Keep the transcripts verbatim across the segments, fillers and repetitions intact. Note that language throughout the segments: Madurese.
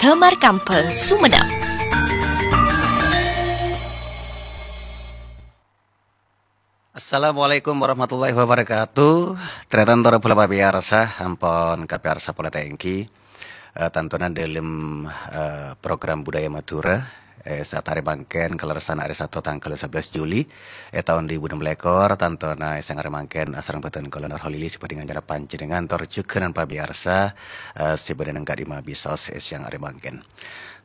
Damar Kambang, Sumenep. Assalamualaikum warahmatullahi wabarakatuh. Tarètan torè polè pamèyarsa, ampon kapèyarsa polè ta' ènggi. Eh, tantona dâlem, eh, program Budaya Madhurâ, eh, saat arè mangkèn, kalerressan arè Sato tangghâl sabellâs Juli, è taon duwâ èbu ennem lèkor, tantona è sèyang arè mangkèn asareng bhâdhân kaulâ Nur Holili sè bhâdhi ngacara panjhennengngan tor jhughân pamèyarsa, eh, sè bâdâ neng ka'dimma bisaos è sèyang arè mangkèn.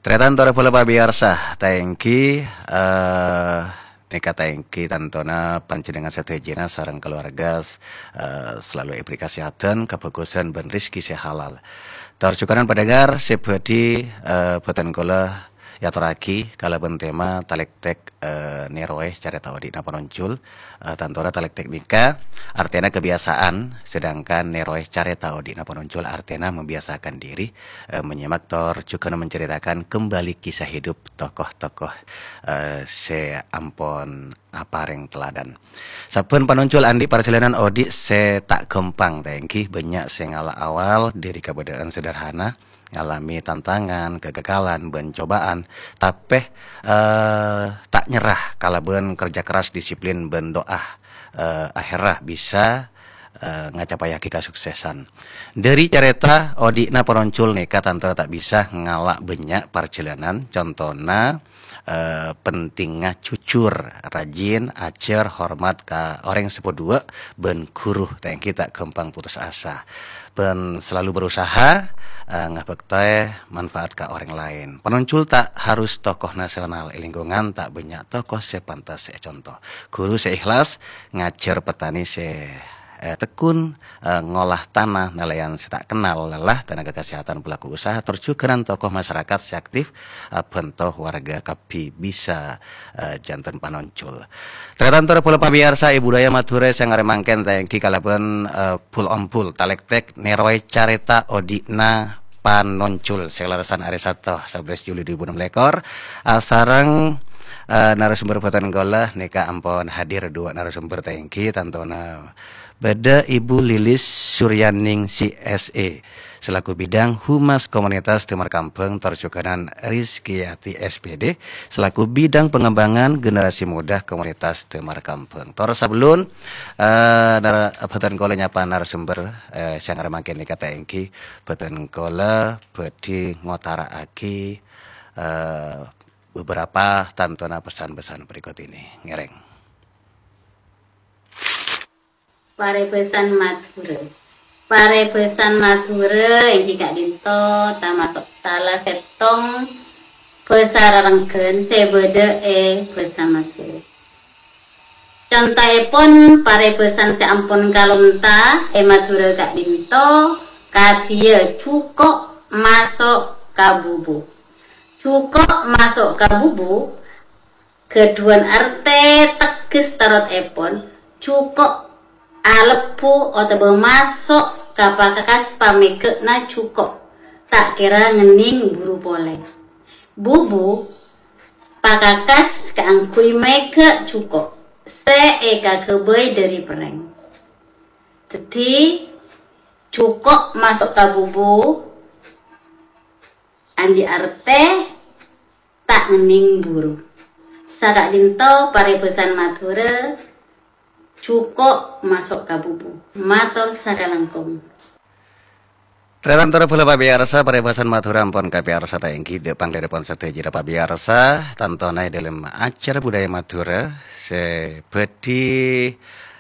Tarètan torè polè pamèyarsa, ta' ènggi, eh, nèka ta' ènggi tantona panjhennengngan sadhâjâna sareng kaluarga, eh, selalu èbhâri kasèhadhân, kabhâghusân, bân rejhekkè sè halal. Tor jhughân pandhengar sè bhâdhi, eh, bhâdhân kaulâ èyatorraghi kalabân tema talèktèk, eh, nèrowè carèta odi'na panonjhul. Eh, tantona talèktèk nèka artèna kebiasaan, sedangkan nèrowè carèta odi'na panonjhul artèna membiasakan diri, eh, menyimak tor jhughân menceritakan kembali kisah hidup tokoh-tokoh, eh, sè ampon aparèng teladan. Sabbhân panonjhul andi' parjhâlânan odi' sè ta' ghâmpang, ta' ènggi bânnya' sè ngala' awal dâri kabâdâ'ân sederhana, ngalamè tantangan, kegagalan, bân cobâ'ân, tapè, eh, ta' nyerra kalabân kerja keras, disiplin, bân do'a, eh, aherra bisa, eh, ngacapayaghi kasuksesan. Dâri carèta odi'na panonjhul nèka tantona ta' bisa ngala' bânnya' parjhâlânan, contona, eh, pentingnga jujur, rajin, ajhâr, hormat ka orèng sè paduwâ' bân ghuru, ta' ènggi ta' ghâmpang putus asa. Bân selalu berusaha, eh, ngabhâktè manfaat ka orèng laèn. Panonjhul ta' harus tokoh nasional, è lingkungan ta' bânnya' tokoh sè pantes èconto. Ghuru sè ikhlas ngajhâr, petani sè, eh, tekun, eh, ngolah tana nalèyan sè ta' kennal lelah, tenaga kesehatan pelaku usaha, tor jhughân tokoh masyarakat sè aktif, eh, bhânto warga kabbhi bisa, eh, jhânten panonjhul. Tarètan torè polè pamèyarsa, è Budaya Madhurâ sè arè mangkèn ta' ènggi kalabân, eh, bul-ombul talèktèk nèrowè carèta odi'na panonjhul sè kalerressan arè Sato sabellâs Juli duwâ èbu ennem lèkor, asareng, eh, narasumber bhâdhân kaulâ nèka ampon hadir duwâ narasumber ta' ènggi, tantona bâdâ Ibu Lilis Suryaningsih, S E, selaku Bidang Humas Komunitas Damar Kambang, tor jhughân Rizkyati, S P D, selaku Bidang Pengembangan Generasi Muda Komunitas Damar Kambang. Tor sabellun, eh, nara-, bhâdhân kaulâ nyapa narasumber, eh, sè arè mangkèn nèka ta' ènggi, bhâdhân kaulâ bhâdhi ngotara'aghi, eh, beberapa tantona pesan-pesan berikut ini. Ngèrèng. Parèbhâsan Madhurâ. Parèbhâsan Madhurâ ènggi ka'dinto tamaso' sala sèttong bhâsa rarengghân sè bâdâ è bhâsa Madhurâ. Contoèpon parèbhâsan sè ampon kalonta è Madhurâ ka'dinto, kadhiyâ jhuko' maso' ka bubu. Jhuko' maso' ka bubu ghâdhuwân artè tegghes tarotèpon, jhuko' alebbhu otabâ maso' ka pakakas pamèghâ'na jhuko', ta' kèra ngennèng buru polè. Bubu pakakas kaangghuy mèghâ' jhuko' sè èkaghâbây dâri perrèng. Dhâddhi, jhuko' maso' ka bubu andi' artè ta' ngennèng buru. Saka'dinto parèbhâsan Madhurâ, jhuko' maso' ka bubu. Mator sakalangkong. Tarètan tor polè pamèyarsa, parèbhâsan Madhurâ ampon kapèyarsa ta' ènggi, dâ' panglèdâpon sadhâjâna pamèyarsa, tantona è dâlem acara Budaya Madhurâ sè bhâdhi,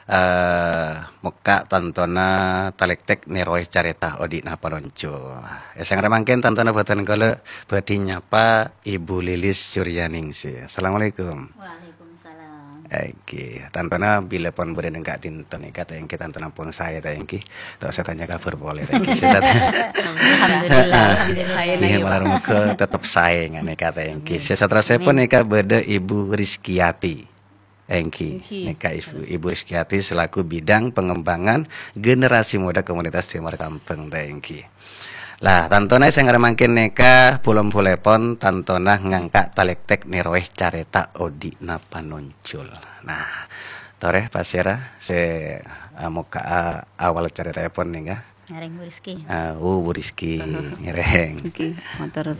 eh, mokka' tantona talèktèk nèrowè carèta odi'na panonjhul. È sè arè mangkèn tantona bhâdhân kaulâ bhâdhi nyapa Ibu Lilis Suryaningsih. Assalamualaikum. Waalaikumsalam. Ènggi, tantona bilâ pon bâdâ neng ka'dinto nèka, ta' ènggi tantona pon saè, ta' ènggi. Ta' usah tanya kabhâr polè, ta' ènggi. Sè sat- Alhamdulillah, alhamdulillah. Iya, malar moghâ tetep saè nga' nèka, ta' ènggi. Amin. Sè saterrossèpon nèka bâdâ Ibu Rizkyati. Ènggi, ènggi. Nèka Ibu, Ibu Rizkyati selaku bidang pengembangan generasi muda komunitas Damar Kambang, ta' ènggi. Lah, tantona sè arè mangkèn nèka pol-ompolèpon tantona ngangka' talèktèk nèrowè carèta odi'na panonjhul. Nah, torè pasèra sè, eh, mokka'a awal carètaèpon nèka? Ngèrèng Bu Rizky. Ah, oh, Bu Rizky, ngèrèng. Ènggi, mator